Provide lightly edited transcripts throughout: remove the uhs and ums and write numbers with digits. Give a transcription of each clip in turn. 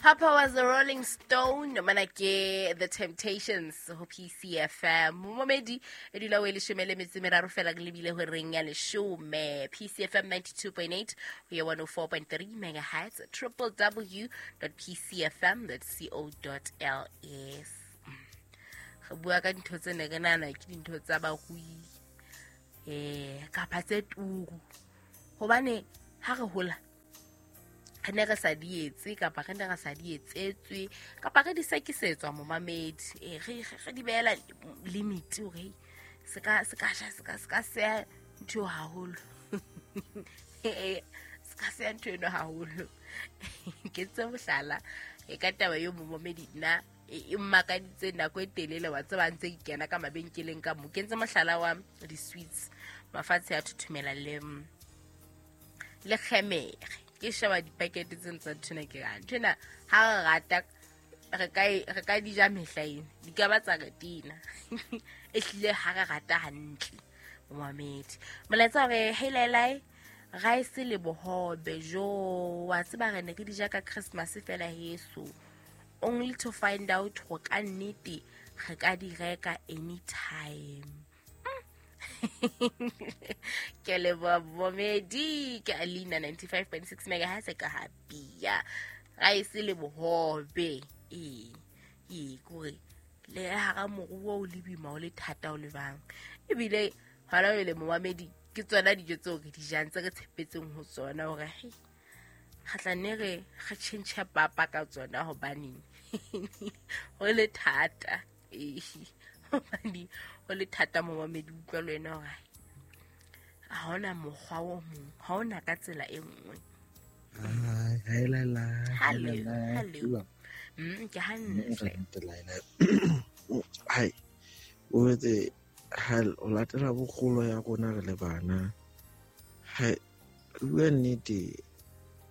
Papa was a Rolling Stone, mana ke The Temptations ho PCFM. Momedi e dula o e leshome le metso e meraro fela ke lebile ho reng ya leshome. PCFM 92.8 ho ya 104.3 megahertz www.pcfm.co.ls. Re bua ka dintho tse ne re nahana ke dintho tsa barui kapa tse turu. Hobane ha re hola re ne re sa di etse kapa re ne re sa di etsetswe kapa re di sekisetswa momamedi, re di beela limit hore se ka ja se ka seya ntho haholo. Se ka seya ntho eno haholo. Ke tse mohlala e ka taba eo momamedi nna e mmakaditse nako e telele wa tseba ntse ke kena ka mabenkeleng ka mo. Ke ntse mohlala wa di-sweets mafatshe a thuthumela le kgemere. Ke sheba dipakete tse ntsa nthwena ke ra nthwena ha re rata re ka di ja mehla ena di ka ba tsa re tina. E hlile ha re rata hantle momamedi. Molaetsa hore hey lailai rice le bohobe jo wa tseba re ne re di ja ka Christmas fela heso, only to find out go ka nnete re ka di reka anytime. Ke leboha momedi ke Alina 95.6 megahertz ka habia rice le bohobe e kore le hara moruo o le boima o le thata o le bang ebile hona le momamedi ke tsona dijo tseo re di jang tse re tshepetseng ho tsona hore hei re tla nne re tjhentjhe papa ka tsona hobaneng ho le thata. Hobane ho le thata momamedi utlwa le wena hore ha hona mokgwa o mong, ha hona ka tsela e nngwe. Hello. Ke hantle. Hai, o etse ha o latela bokgolo ya rona re le bana. Hai, bua nnete,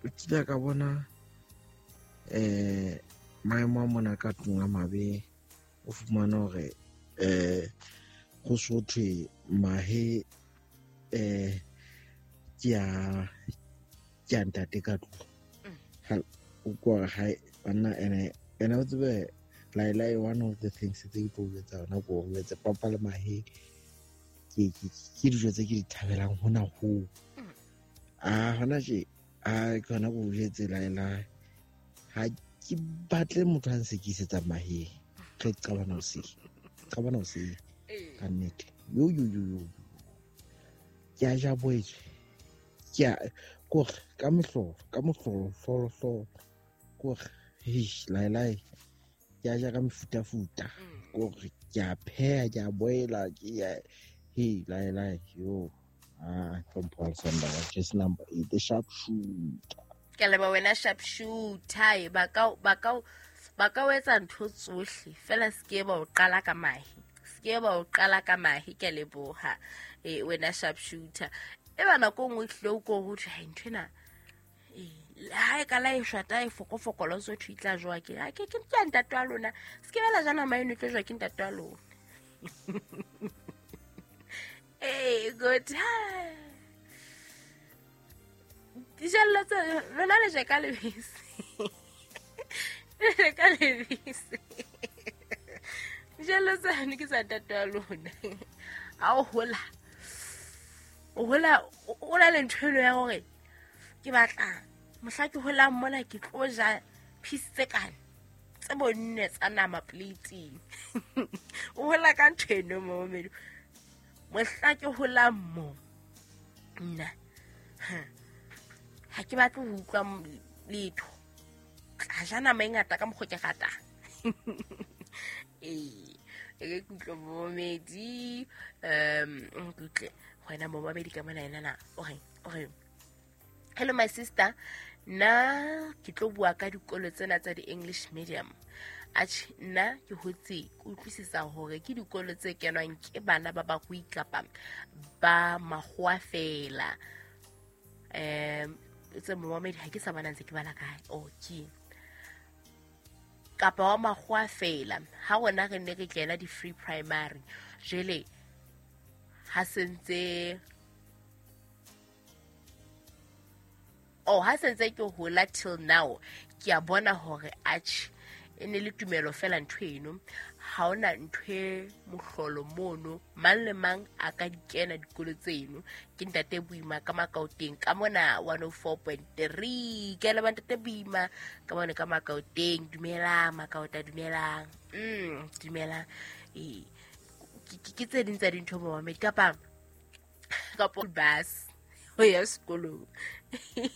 o kile ka bona maemo a mona ka tlung a mabe. O fumana hore go so thwe mahe ke a ntate ka tlung. O kwa hae banna ene o tsebe lailai one of the things tse ke tlo etsa yona ko o etse papa le mahe ke dijo tse ke di thabelang hona ho. A hona tje a ke hona go jetse lailai ha ke batle motho a nsekisetsa mahe. Ke qabana o se ka nnete yo ke a ja boetswe ke a kore ka mohlolo hlolo kore lai ke a ja ka mefutafuta kore ke a pheha ke a boela ke a hey lai yo from Paul Sanda just number 8 the sharp shooter. Ke leba wena sharp shooter ba ka o etsa ntho tsohle fela se ke ba o qala ka mahe, se ke ba o qala ka mahe. Ke leboha wena sharp shooter. E ba nako nngwe hlile o ko ho thwe ha nthwena ha e ka la e shwata e fokofokolo so thwe tla jwa ke ha ke ke ntate wa lona se ke bela jana maeno tlo jwa ke ntate wa lona. Good. Dijallo tse lona le je ka lebese. Le ka lebese. Dijallo tsane ke sa ntate wa lona. Ha o hola o na le ntho eno ya hore ke batla mohla ke holang mona ke tlo ja piece tse kana tse bonne tsa nama plate-ing. O hola ka ntho eno momamedi. Mohla ke holang mo nna ha ke batle ho utlwa letho, tla ja nama e ngata ka mokgwa ke ratang. E ke utlwe momamedi kutle wena momamedi ka mona ena na o re hello my sister, nna ke tlo bua ka dikolo tsena tsa di-English medium. Atjhe nna ke hotse ke utlwisisa hore ke dikolo tse kenwang ke bana ba barui kapa ba makgowa fela. Tse momamedi ha ke sa bona ntse ke bala kae ke kapa wa makgowa fela. Ha rona re ne re kena di-free primary jwale ha sentse Or ha sentse ke hola till now, ke a bona hore atjhe, e ne le tumelo fela ntho eno. Ha hona ntho e mohlolo mono, mang le mang a ka di kena dikolo tseno. Ke Ntate Boima ka Makaoteng ka mona 104.3. Ke a leboha, Ntate Boima ka mona ka Makaoteng. Dumelang Makaota, dumelang. Dumelang. Ee, ke tse ding tsa dintho, momamedi, kapa bus ho ya sekolong.